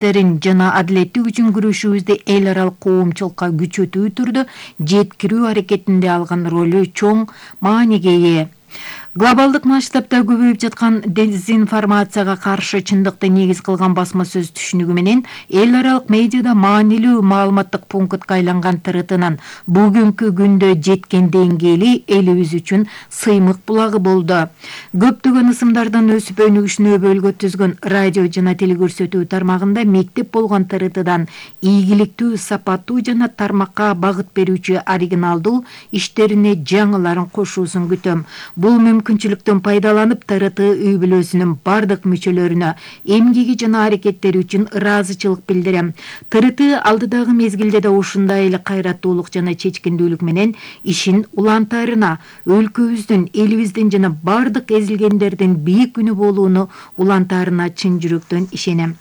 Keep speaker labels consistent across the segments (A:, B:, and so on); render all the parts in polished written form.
A: аракеттерин жана адилеттик үчүн күрөшүүбүздү эл аралык коомчулукка күчөтүү түрдө жеткирүү аракетинде алган ролу чоң мааниге ээ. Глобалдык масштабта көбөйүп жаткан дезинформацияга каршы чындыкты негиз кылган басма сөз түшүнүгү менен эл аралык медиада маанилүү маалыматтык пунктка айланган ТРТнын бүгүнкү күндө жеткен деңгээли элибиз үчүн сыймык булагы болду. Көптөгөн ысымдардан өсүп өнүгүшүнө өбөлгө түзгөн радио жана телекөрсөтүү тармагында мектеп болгон ТРТдан ийгиликтүү, сапаттуу жана тармакка багыт берүүчү оригиналдуу иштерине жаңыларын кошуусун күтөм. Бул мүмкүнчүлүктөн пайдаланып ТРТ үй бүлөсүнүн бардык мүчөлөрүнө эмгеги жана аракеттери үчүн ыраазычылык билдирем. ТРТ алдыдагы мезгилде да ушундай эле кайраттуулук жана чечкиндүүлүк менен ишин улантаарына, өлкөбүздүн, элибиздин жана бардык эзилгендердин бийик күнү болууну улантаарына чын жүрөктөн ишенем.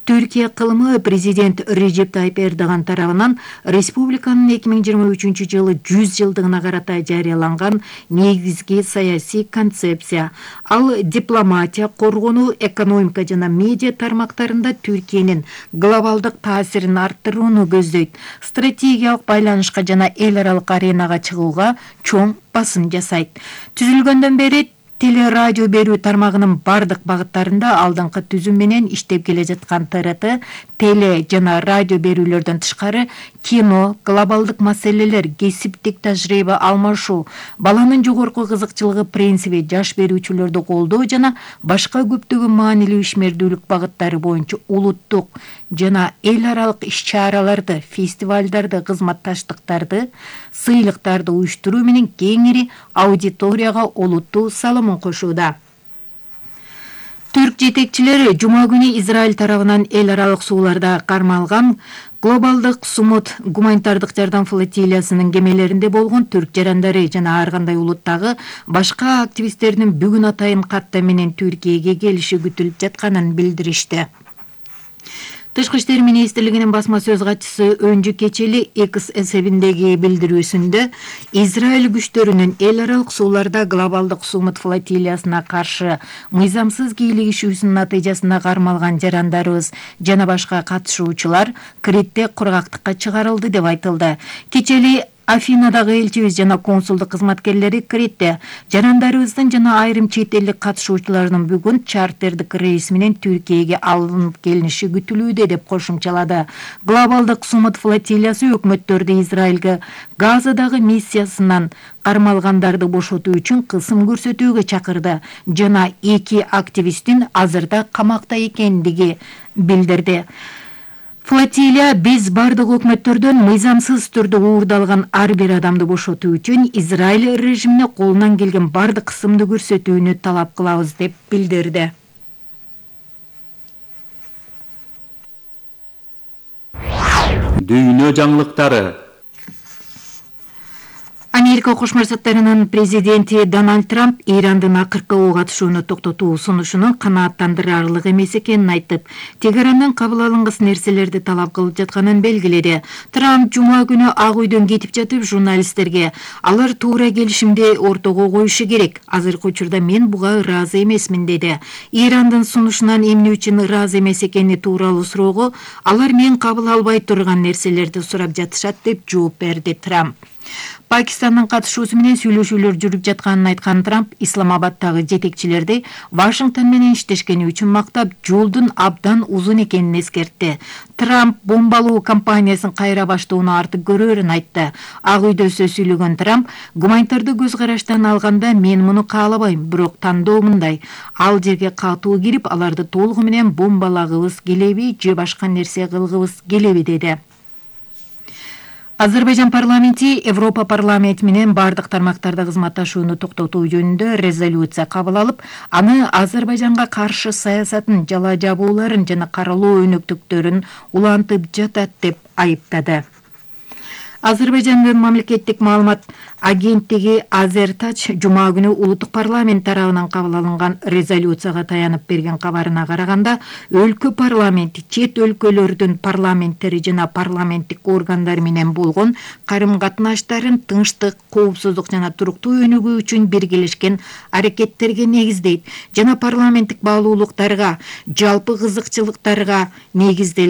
A: Түркия кылымы президент Режеп Тайип Эрдоган тарабынан республиканын 2023 жылы 100 жылдыгына карата жарыяланган негизги саясий концепция. Ал дипломатия, коргонуу, экономика жана медиа тармактарында Түркиянын глобалдык таасирин арттырууну көздөйт. Стратегиялык байланышка жана эл аралык аренага чыгууга чоң басым жасайт. Түзүлгөндөн бери телерадио берүү тармагынын бардык багыттарында алдыңкы түзүм менен иштеп келе жаткан ТРТ теле жана радио берүүлөрдөн тышкары кино, глобалдык маселелер, кесиптик тажрыйба алмашуу, баланын жогорку кызыкчылыгы принциби, жаш берүүчүлөрдү колдоо жана башка көптөгөн маанилүү ишмердүүлүк багыттары боюнча улуттук жана эл аралык иш-чараларды, фестивалдарды, кызматташтыктарды, сыйлыктарды уюштуруу менен кеңири аудиторияга олуттуу салымын кошууда. Түрк жетекчилери жума күнү Израиль тарабынан эл аралык сууларда кармалган глобалдык сумут гуманитардык жардам флотилиясынын кемелеринде болгон түрк жарандары жана ар кандай улуттагы башка активисттердин бүгүн атайын катты менен Түркияга келиши күтүлүп жатканын билдиришти. Тышкы иштер министрлигинин басма сөз катчысы Өнжү Кечели X эсебиндеги билдирүүсүндө Израиль күчтөрүнүн эл аралык сууларда глобалдык сумут флотилиясына каршы мыйзамсыз кийлигишүүсүнүн натыйжасында кармалган жарандарыбыз жана башка катышуучулар Критте кургактыкка чыгарылды деп айтылды. Кечели Афинадагы элчибиз жана консулдук кызматкерлери Критте жарандарыбыздын жана айрым чет элдик катышуучулардын бүгүн чартердик рейс менен Түркияга алынып келиниши күтүлүүдө деп кошумчалады. Глобалдык сумут флотилиясы өкмөттөрдү Израилге Газадагы миссиясынан кармалгандарды бошотуу үчүн кысым көрсөтүүгө чакырды жана 2 активисттин азырда камакта экендиги билдирди. Флотилия биз бардык өкмөттөрдөн мыйзамсыз түрдө уурдалган ар бир адамды бошотуу үчүн Израиль режимине колунан келген бардык кысымды көрсөтүүнү талап кылабыз деп билдирди.
B: Дүйнө жаңылыктары.
A: Америка Кошмо Штаттарынын президенти Дональд Трамп Ирандын акыркы ок атышууну токтотуу сунушунун канааттандырарлык эмес экенин айтып, Тегерандан кабыл алынгыс нерселерди талап кылып жатканын белгиледи. Трамп жума күнү Ак үйдөн кетип жатып журналисттерге алар туура келишимди ортого коюшу керек. Азыркы учурда мен буга ыраазы эмесмин деди. Ирандын сунушунан эмне үчүн ыраазы эмес экени тууралуу суроого алар мен кабыл албай турган нерселерди сурап жатышат деп жооп берди Трамп. Пакистандын катышуусу менен сүйлөшүүлөр жүрүп жатканын айткан Трамп Исламабадтагы жетекчилерди Вашингтон менен иштешкени үчүн мактап, жолдун абдан узун экенин эскертти. Трамп бомбалоо кампаниясын кайра баштоону артык көрөрүн айтты. Ак үйдө сөз сүйлөгөн Трамп гуманитардык көз караштан алганда мен муну каалабайм, бирок тандоо мындай: ал жерге катуу кирип, аларды толугу менен бомбалагыбыз келеби же башка нерсе кылгыбыз келеби деди. Азербайжан парламенти Европа парламенти менен бардык тармактарда кызматташууну токтотуу жөнүндө резолюция кабыл алып, аны Азербайжанга каршы саясатын, жала жабууларын жана каралоо өнөктүктөрүн улантып жатат деп айыптады. Азербайжандын мамлекеттик маалымат агенттиги Азертач жума күнү улуттук парламент тарабынан кабыл алынган резолюцияга таянып берген кабарына караганда, өлкө парламенти чет өлкөлөрдүн парламенттери жана парламенттик органдар менен болгон карым-катнаштарын тынчтык, коопсуздук жана туруктуу өнүгүү үчүн биргелешкен аракеттерге негиздейт жана парламенттик баалуулуктарга, жалпы кызыкчылыктарга негизделген